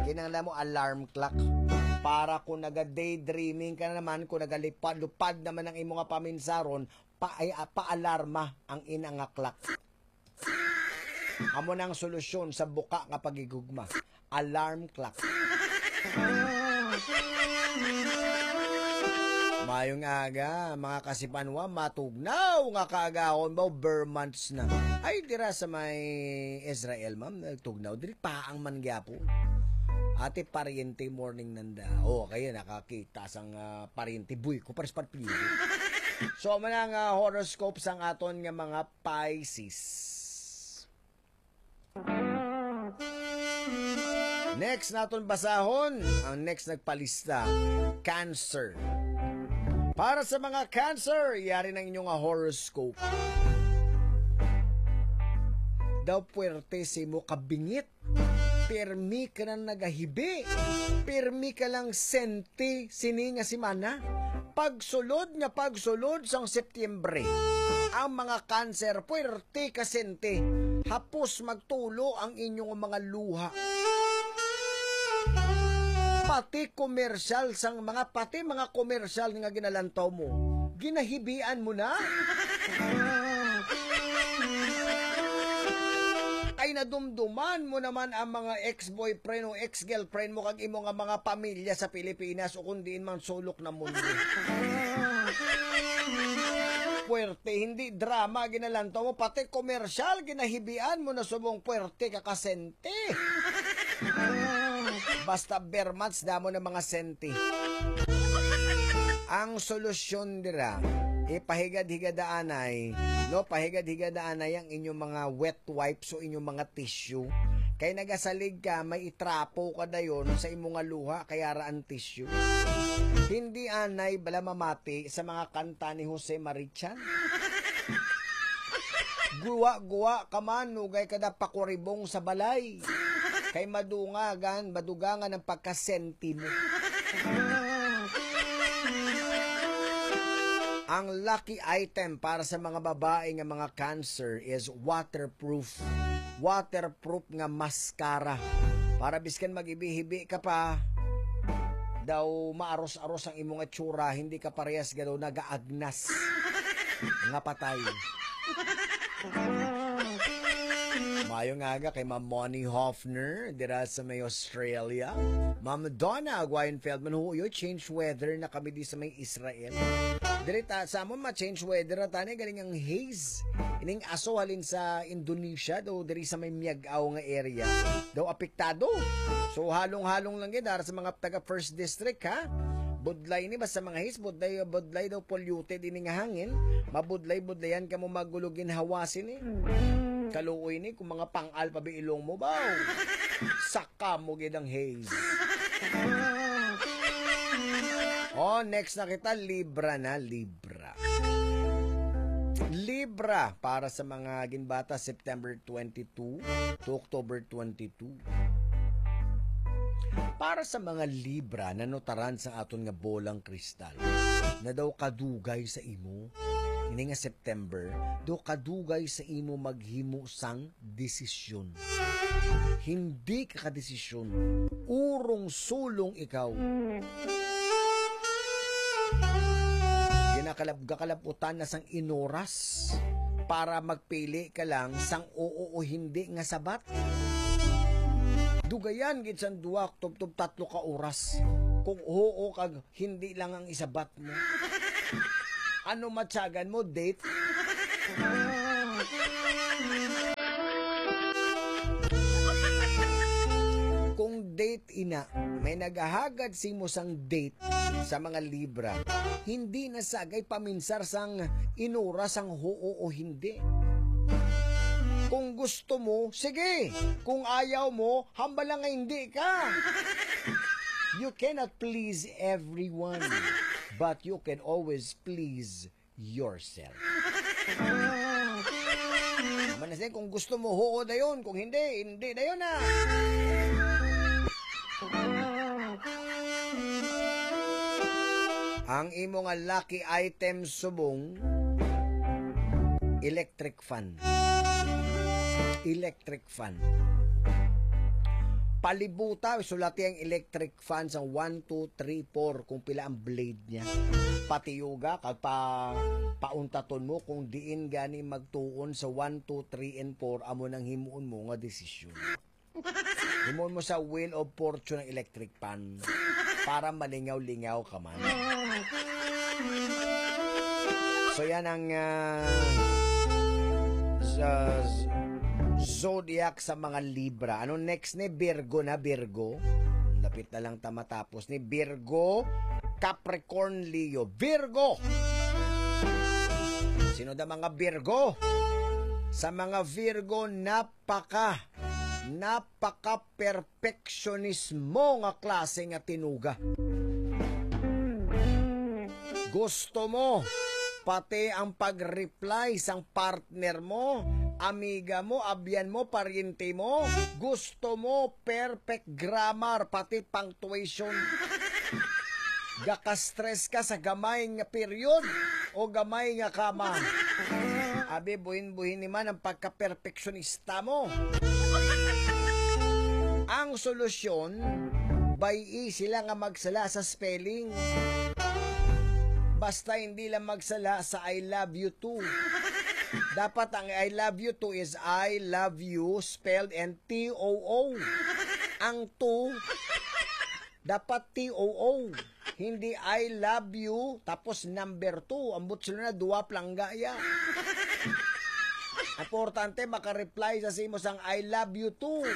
Kinahanglan mo alarm clock. Para kung naga-daydreaming ka na naman, kung nagalipad-lupad naman ang imo nga paminsaron, pa, ay, ah, paalarma ang ina nga clock. Amo na ang solusyon sa buka nga paghigugma. Alarm clock. Mayong aga, mga kasipanwa, matugnaw nga kaagahon ba, ber months na. Ay, dira sa may Israel, ma'am, nagtugnaw. Diri pa ang man gyapon. Ate, pariente, morning nanda. Oh, kayo nakakita sang, ah, pariente. Buy ko, pares pa pili. So, amo na nga horoscope sang aton nga mga Pisces. Next naton basahon, ang next nagpalista, Cancer. Para sa mga Cancer, yari na ang inyong horoscope. Daw puwerte si mo kabingit. Pirmi ka na nagahibi. Pirmi ka lang senti sini nga semana. Pagsulod nga pagsulod sang Setyembre, ang mga Cancer puwerte ka senti. Hapos magtulo ang inyong mga luha. Pati komersyal sang mga, pati mga komersyal nga ginalantaw mo, ginahibian mo na. Ay, nadumduman mo naman ang mga ex-boyfriend o ex-girlfriend mo kag imo nga mga pamilya sa Pilipinas o kung diin man sulok na mundo. Puwerte, hindi drama ginalantaw mo, pati komersyal ginahibian mo na subong puwerte ka kasente. Basta ber months, damo na mga senti. Ang solusyon dira, ipahigad-higad anay, no, pahigad-higad anay ang inyong mga wet wipes o inyong mga tissue. Kay nagasalig ka, may itrapo ka dayon sa imo nga luha, kaya ra ang tissue. Hindi anay bala mamati sa mga kanta ni Jose Marichan? Guwa-guwa ka man, nugay ka na pakuribong sa balay. Kay madungagan, madugangan ang pagkasenti mo. Ang lucky item para sa mga babae nga mga Cancer is waterproof. Waterproof nga mascara. Para biskan maghibi-hibi ka pa, daw maaros-aros ang imong itsura, hindi ka parehas gado nagaagnas nga patay. Mayo nga aga kay Ma'am Moni Hoffner dira sa may Australia. Ma'am Donna Aguayan Feldman, huyo, change weather na kami di sa may Israel. Diri ta sa amon ma-change weather na tani galing ang haze. Ining aso halin sa Indonesia do diri sa may Miag-ao nga area. Daw apektado. So halong-halong lang gid dara sa mga taga First District, ha. Budlay ni basta mga haze, budlay, budlay daw polluted ini nga hangin. Mabudlay-budlayan ka mo magulo ginhawa sini. Kaluoy ni kung mga pangal pa bi ilong mo ba. Saka mo gid ang haze. Oh, next na kita, Libra na, Libra. Libra para sa mga ginbata September twenty-two to October twenty-two. Para sa mga Libra, nanutaran sa aton nga bolang kristal, na daw kadugay sa imo, ini nga September, daw kadugay sa imo maghimo sang desisyon. Hindi ka kadesisyon. Urong-sulong ikaw. Ginakalab-, gakalabutan na sang inoras para magpili ka lang sang oo o hindi nga sabat. Dugayan gid sang duwa, tubtob tatlo ka oras kung oo kag hindi lang ang isabat mo. Ano matyagan mo? Date? Kung date ina, may naghahagad simo sang date sa mga Libra, hindi na sagay paminsar sang inura sang huo o hindi. Kung gusto mo, sige. Kung ayaw mo, hambal lang nga hindi ka. You cannot please everyone, but you can always please yourself. Naman na siya, kung gusto mo, huo dayon. Kung hindi, hindi dayon na. Ang imo nga lucky item subong, electric fan. Electric fan. Palibuta, sulati ang electric fan sa one, two, three, four, kung pila ang blade niya. Patiyuga, kag pa, pauntaton mo kung diin gani magtuon sa one, two, three, and four, amo nang himuon mo nga desisyon. Himuon mo sa Wheel of Fortune ang electric fan para malingaw-lingaw ka man. So, yan ang, ah, sa z-, zodiac sa mga Libra. Ano next ni Virgo na, Virgo? Lapit na lang ta matapos ni Virgo, Capricorn, Leo. Virgo! Sino da mga Virgo? Sa mga Virgo, napaka, napaka-perfectionismo nga klase nga tinuga. Gusto mo pati ang pag-reply sang partner mo, amiga mo, abyan mo, paryente mo. Gusto mo perfect grammar, pati punctuation. Gaka-stress ka sa gamay nga period o gamay nga kama. Abi, buhin-buhin ni man ang pagka-perfectionista mo. Ang solusyon, bay-i sila nga magsala sa spelling. Basta hindi lang magsala sa "I love you too." Dapat ang "I love you too" is "I love you" spelled and T O O. Ang "too", dapat T O O. Hindi "I love you", tapos number two. Ambot sila na, duwa plangga ya. Importante, maka-reply sa simo sang "I love you too".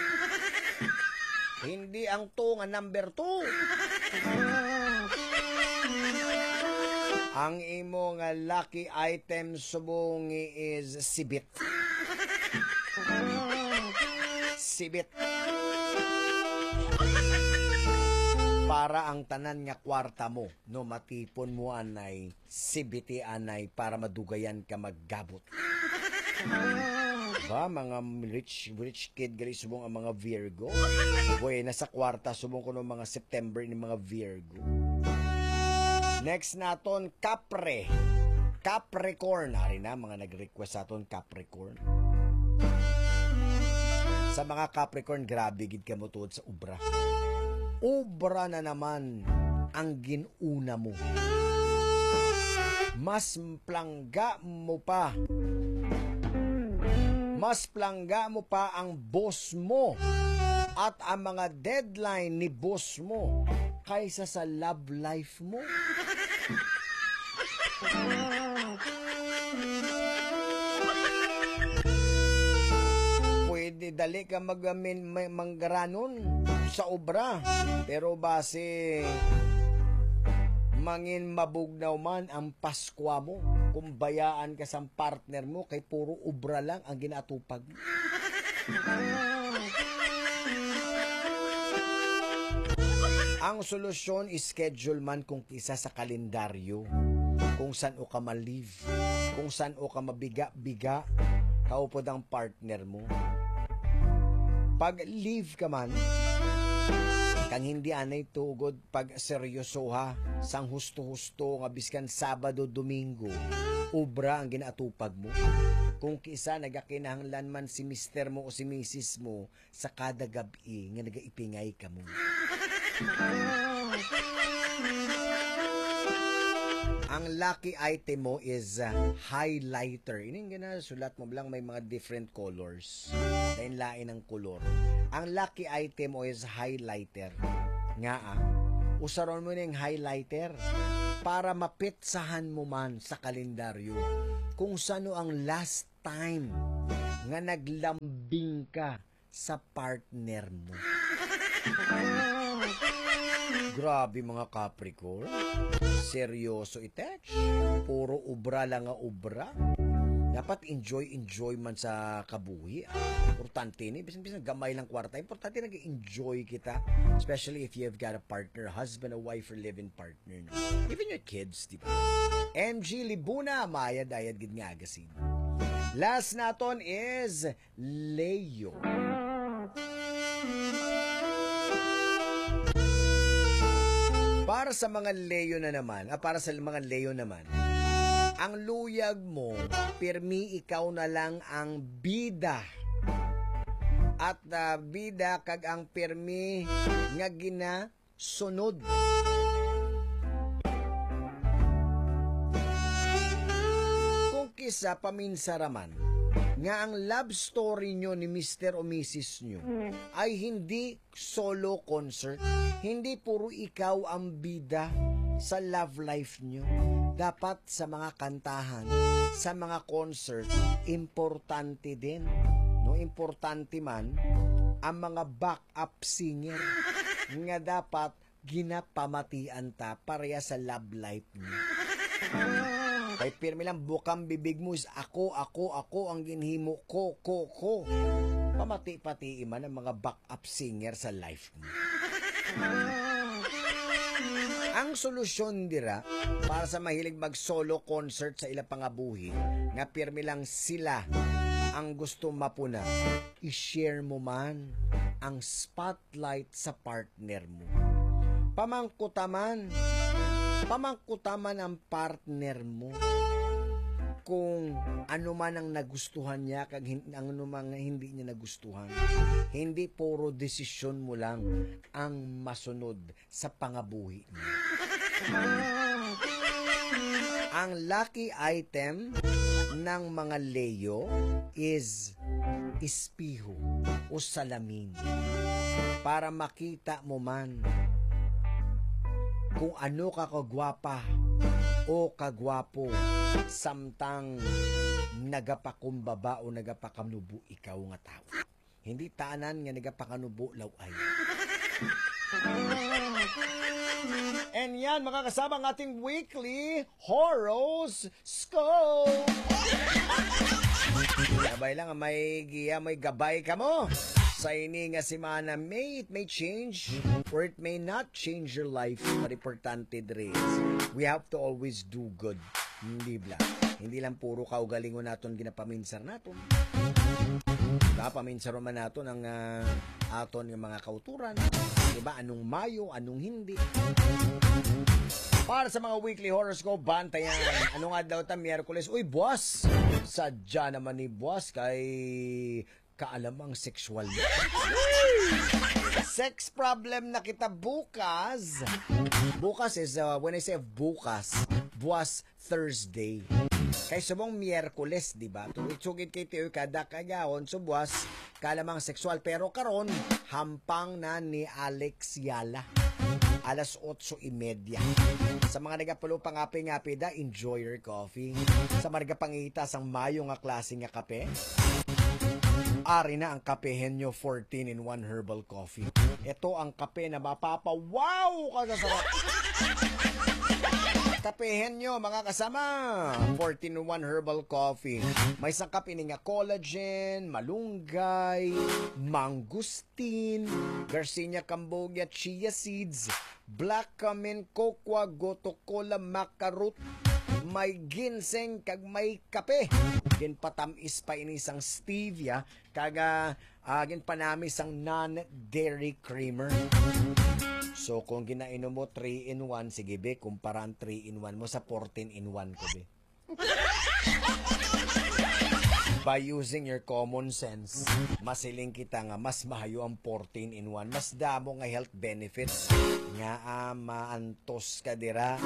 Hindi ang two nga number two. Ang imo nga lucky item subong is sibit. Sibit. Para ang tanan nga kwarta mo, no, matipon mo anay, sibiti anay para madugayan ka maggabot. Ba, mga rich, rich kid gali subong ang mga Virgo. Buena sa kwarta subong kuno mga September ni mga Virgo. Next naton, Capre. Capricorn. Ari na, mga nag-request sa aton, Capricorn. Sa mga Capricorn, grabe gid kamo tuod sa obra. Obra na naman ang gin-una mo. Mas plangga mo pa. Mas plangga mo pa ang boss mo at ang mga deadline ni boss mo kaysa sa love life mo. Pwede dali ka mag-, min-, may-, manggaranon sa obra, pero basi mangin mabugnaw man ang Paskwa mo kung bayaan ka sang partner mo kay puro obra lang ang ginaatupag. Ang solusyon, schedule man kung kisa sa kalendaryo kung san-o ka ma-leave, kung san-o ka mabiga-biga, kaupod ang partner mo. Pag leave ka man, Kang hindi anay tuod pag seryosoha sang husto-husto nga biskan Sabado, Domingo, obra ang ginaatupag mo. Kung kisa nagakinahanglan man si mister mo o si misis mo sa kada gab-i nga nagaipingay kamo. Ang lucky item mo is, uh, highlighter. Ining gina, sulat mo lang may mga different colors. Lain-lain ang kolor. Ang lucky item mo is highlighter. Nga, ah, usaron mo ning highlighter para mapetsahan mo man sa kalendaryo kung sano ang last time nga naglambing ka sa partner mo. Grabe, mga Capricorn. Seryoso itex. Puro obra lang nga obra. Dapat enjoy, enjoy man sa kabuhi, ah. Importante ni, bisan, bisan gamay lang kwarta. Importante nag-enjoy kita. Especially if you've got a partner, husband, a wife, or live-in partner, no? Even your kids, di ba? M G Libuna, mayad-ayad gid nga agasin. Last naton is Leo. Para sa mga Leo na naman, ah, para sa mga Leo naman, ang luyag mo, pirmi ikaw na lang ang bida. At, ah, bida kag ang pirmi nga gina sunod. Kung kisa paminsaraman nga ang love story nyo ni mister o misis nyo ay hindi solo concert, hindi puro ikaw ang bida sa love life nyo. Dapat sa mga kantahan, sa mga concert, importante din. No, importante man ang mga back up singer nga dapat ginapamatian ta pareha sa love life niya. Kay pirmi lang bukang bibig mo is, "Ako, ako, ako ang ginhimo ko, ko, ko." Pamati-pati man ang mga back up singer sa life mo. Ang solusyon dira para sa mahilig mag solo concert sa ila pangabuhi nga pirmi lang sila ang gusto mapuna, i-share mo man ang spotlight sa partner mo. Pamangkuta man, pamangkuta man ang partner mo kung ano man ang nagustuhan niya kag hin-, ang ano man nga hindi niya nagustuhan. Hindi puro desisyon mo lang ang masunod sa pangabuhi niya. Ang lucky item ng mga Leo is espeho o salamin para makita mo man kung ano ka kagwapa o kagwapo samtang nagapakumbaba o nagapakanubo ikaw nga tawo. Hindi tanan nga nagapakanubo law-ay. And yan, mga kasama, ang ating weekly horoscope. Gabay lang, may giya, may gabay ka mo. Sa ini nga semana, may it may change or it may not change your life. But importante diri is we have to always do good. Hindi bla. Hindi lang puro kaugalingon naton ginapaminsar naton. Diba, paminsaro man naton ang, ah, aton nga mga kauturan. Diba, anong mayo, anong hindi. Para sa mga weekly horoscope, bantayan. Anong adlaw ta? Miyerkules. Uy, buwas! Sadya naman ni buwas kay kaalamang sexual. Sex problem na kita bukas. Bukas is, uh, when I say bukas, buwas Thursday. Kay subong Miyerkules, di ba? Tuig sugid kay tiyo kada kagahon, so buwas, kaalamang sexual. Pero karon, hampang na ni Alex Yala. Alas otso y media. Sa mga nagapalo pangape-ngape da, enjoy your coffee. Sa mga nagapangita sang mayo nga klase nga kape, ari na ang Kape Henyo fourteen in one Herbal Coffee. Ito ang kape na mapapa-wow ka sa sarap. Kape Henyo, mga kasama. Fourteen in one Herbal Coffee. May isang kape ni nga collagen, malunggay, mangustin, Garcinia cambogia, chia seeds, black cumin, cocoa, gotu kola, maca root, may ginseng, kag may kape. Ginpatamis pa ini sang stevia, kag, ah, ah, ginpanami sang non-dairy creamer. So, kung ginainom mo three in one, sige, be, kumpara ang three in one mo sa fourteen in one ko, be. By using your common sense, masiling kita nga mas mahayo ang fourteen in one. Mas damo nga health benefits nga, ah, maantos ka dira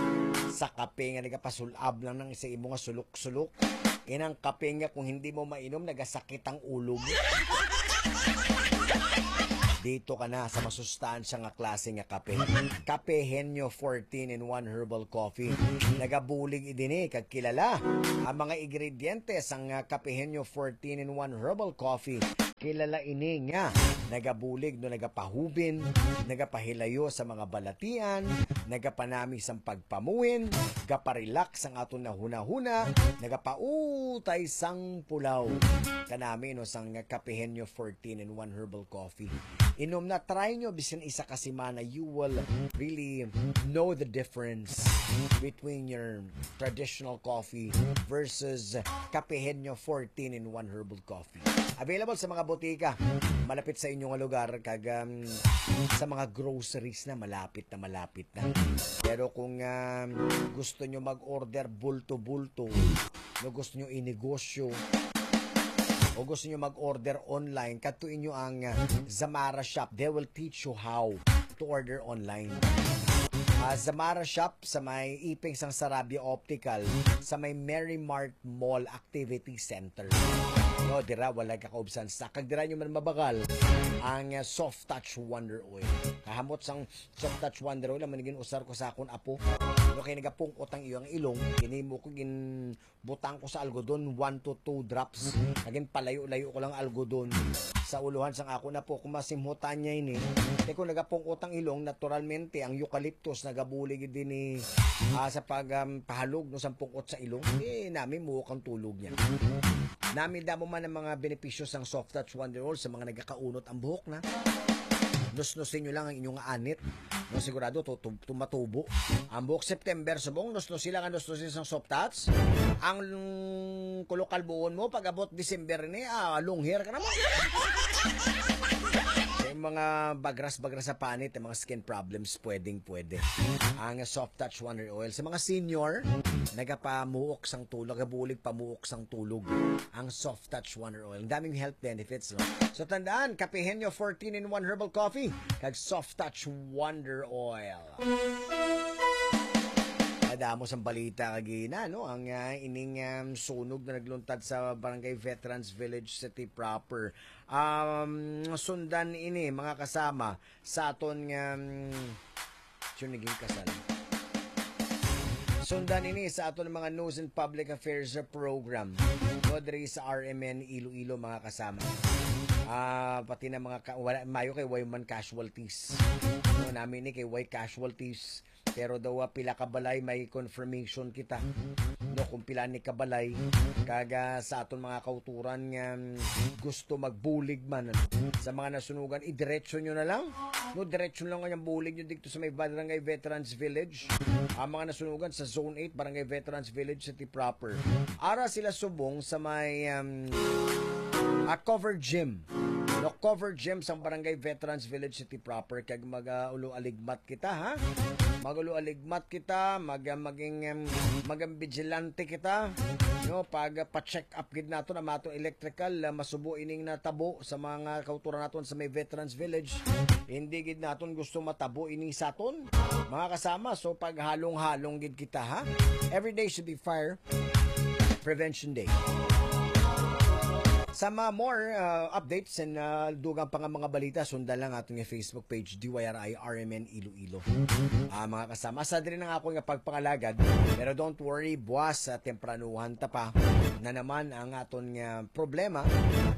sa kape nga nagapasul-ab lang nang sa imo nga sulok-sulok. Inang kape nga kung hindi mo mainom, nagasakit ang ulo mo. Dito ka na sa masustansya nga klase nga kape. Kape Henyo fourteen in one Herbal Coffee. Nagabulig idini kag kilala ang mga ingrediente sang, ah, Kape Henyo fourteen in one Herbal Coffee. Kilala ini nga nagabulig, no, nagapahubin, nagapahilayo sa mga balatian, nagapanami sang pagpamuhin, gaparelax ang aton nahunahuna, nagapautay sang pulaw. Kanami, no, sang Kape Henyo fourteen in one Herbal Coffee. Inom na, try nyo bisan isa ka semana, you will really know the difference between your traditional coffee versus Kape Henyo fourteen in one Herbal Coffee. Available sa mga botika malapit sa inyo nga lugar, kag, um, sa mga groceries na malapit na malapit na. Pero kung, um, gusto nyo mag-order bulto-bulto, no, gusto nyo inegosyo, o gusto nyo mag-order online, kadto inyo ang, uh, Zamara Shop. They will teach you how to order online. Ah, Zamara Shop sa may Iping sang Sarabia Optical, sa may Merry Mart Mall Activity Center. No, dira wala ka kaubsan sa, kag dira nyo man mabagal ang, uh, Soft Touch Wonder Oil. Kahamot sang Soft Touch Wonder Oil, ang man gin-usar ko sa akon apo. No, kay nagapungkot ang iyang ilong, ginimo ko, ginbutang ko sa algodon, one to two drops. Naging palayo-layo ko lang algodon sa uluhan sang akon apo. Kung masimhutan niya ini, kay kung nagapungkot ang ilong, naturalmente, ang eucalyptus nagabulig din ni, ah, sa pag, um, pahalog, no, sa pungkot sa ilong. Eh, nami muhok ang tulog niya. Nami damo man ang mga benepisyo sang Soft Touch Wonder Oil sa mga nagakaunot ang buhok na. Nusnusin nyo lang ang inyong anit. No, sigurado to, to, to matubo. Ang buhok September, subong nusnusi lang ang nusnusi sang Soft Touch. Ang kulok kalbuon mo, pag abot December ni, ah, long hair ka naman. Yung mga bagras-bagras sa panit, yung mga skin problems, pwedeng pwede. Ang Soft Touch Wonder Oil. Sa mga senior, nagapamuok sang tulog, nagabulig pamuok sang tulog. Ang Soft Touch Wonder Oil. Ang daming health benefits, no? So, tandaan, Kape Henyo fourteen in one Herbal Coffee, kag Soft Touch Wonder Oil. Kadamo sang balita kagina, no? Ang, ah, ining, um, sunog na nagluntad sa Barangay Veterans Village City Proper. Um, sundan ini, mga kasama, sa aton nga, um, sure, naging kasal. Sundan ini sa aton mga News and Public Affairs program. No, diri sa R M N Iloilo, mga kasama. Ah, pati na mga ka-, wala, mayo kay way man casualties. No, nami ni kay way casualties. Pero daw, ah, pila ka balay may confirmation kita. No, kung pila ni ka balay. Kag, ah, sa aton mga kauturan nga, mm, gusto magbulig man, ano, sa mga nasunugan, idiretso nyo na lang. No, diretso lang kanyang bulig nyo dito sa may Barangay Veterans Village. Ang mga nasunugan sa Zone eight, Barangay Veterans Village, City Proper. Ara sila subong sa may, um, ah, covered gym. No, covered gym sa Barangay Veterans Village, City Proper. Kag mag, ah, ulo aligmat kita, ha? Mag-ulo aligmat kita, mag, ah, maging, um, maging vigilante kita. No, pag, ah, pa-check up gid naton ang ato electrical, ah, masubo ining natabo sa mga kauturan naton sa may Veterans Village. Hindi gid naton gusto matabo ini sa aton, mga kasama. So, paghalong-halong gid kita, ha? Every day should be fire prevention day. Sa mga more, uh, updates and, uh, dugang pa nga mga balita, sundan lang aton nga Facebook page, D Y R I R M N Iloilo. Ah, mga kasama, sa diri na nga ako nga pagpangalagad, pero don't worry, buwas sa tempranuhan ta pa na naman ang aton nga problema.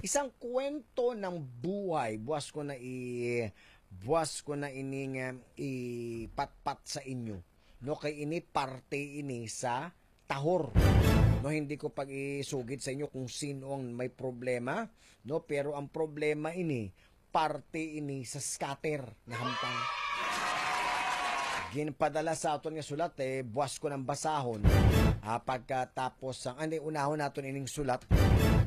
Isang kwento ng buhay, buwas ko na i-, buwas ko na ining, um, ipatpat sa inyo. No, kay ini parte ini sa tahor. No, hindi ko pag-isugid sa inyo kung sino ang may problema, no, pero ang problema ini, parte ini sa scatter nga hamtang. ginpadala sa aton nga sulat, eh, buwas ko nang basahon. Ah, pagkatapos sang, ano, unahon naton ining sulat,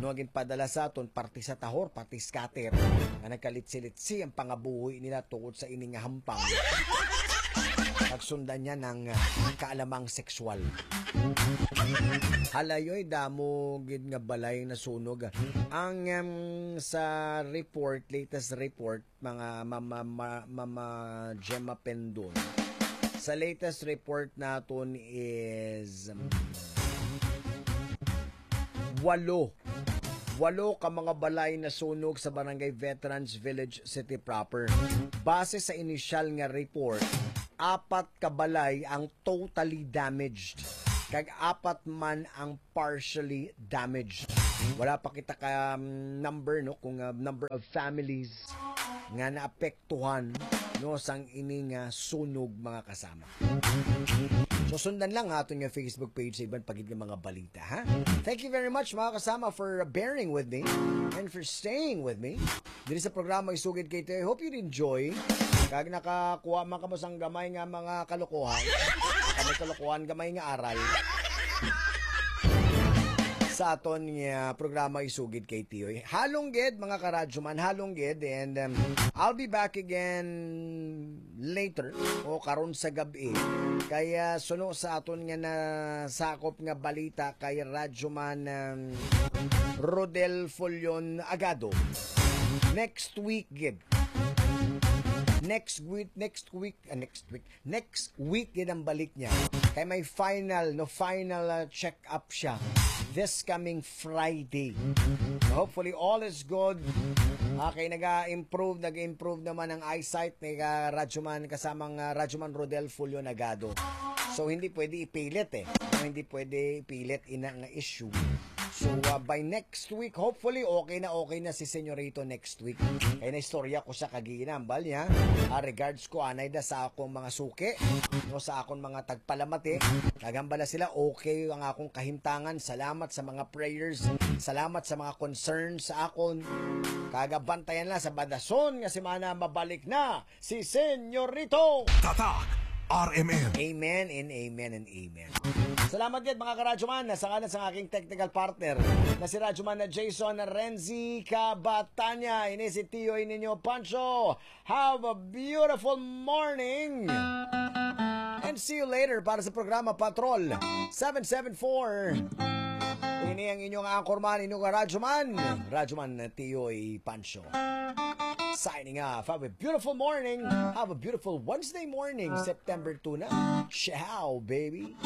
no, ginpadala sa aton, parte sa tahor, parte scatter, nga nagkalitsi-litsi ang pangabuhi nila tungod sa ini nga hampang. Pagsundan niya ng, ah, kaalamang sexual. Halayoy, damo gid nga balay nasunog. Ang, em, sa report, latest report, mga mama, ma-, mama Gemma Pendon. Sa latest report naton is, um, walo. Walo ka mga balay nasunog sa Barangay Veterans Village City Proper. Base sa inisyal nga report, apat ka balay ang totally damaged, kag apat man ang partially damaged. Wala pa kita ka, um, number, no, kung, uh, number of families nga naapektuhan, no, sang ini nga sunog, mga kasama. So, sundan lang ha aton nga Facebook page sa iban pa gid nga mga balita, ha? Thank you very much, mga kasama, for bearing with me and for staying with me diri sa programa Isugid Kay Tiyoy. I hope you enjoy. Kag nakakuha man kamo sang gamay nga mga kalokohan. Kami kalokohan, gamay nga aral sa aton nga programa Isugid Kay Tiyoy. Halong gid, mga karadyo man, halong gid. And, um, I'll be back again later o karon sa gab-i. Kaya suno sa aton nga nasakop nga balita kay Radyo Man, um, Rodel Fullon Agado. Next week gid. Next week, next week, ah, next week. Next week gid ang balik niya. Kay may final, no, final, uh, check-up siya this coming Friday. Hopefully, all is good. Ah, kay naga-improve, nag-improve naman ang eyesight ni ka Radyoman, kasamang, ah, Radyoman Rodel Fulio Nagado. So, hindi pwede ipilit eh. Hindi pwede ipilit ina nga issue. So, ah, by next week, hopefully, okay na okay na si Senyorito next week. Kay naistorya ko sa kaginambal niya. Ah, regards ko, anay da sa akong mga suki, no, sa akong mga tagpalamati. Nagambala sila, okay ang akong kahimtangan. Salamat sa mga prayers. Salamat sa mga concerns sa akon. Kagabantayan lang sa badason nga semana, mabalik na si Senyorito. Tatak R M N. Amen and amen and amen. Salamat gid, mga karadyoman, sa ngalan sa aking technical partner na si Radyoman na Jason Renzi Cabatanya. Ini si Tiyoy ninyo, Pancho. Have a beautiful morning. And see you later para sa programa Patrol seven seven four. Ini ang inyong anchorman, inyong radyoman, Radyoman Tiyoy Pancho. Signing off. Have a beautiful morning. Have a beautiful Wednesday morning, September two na. Ciao, baby.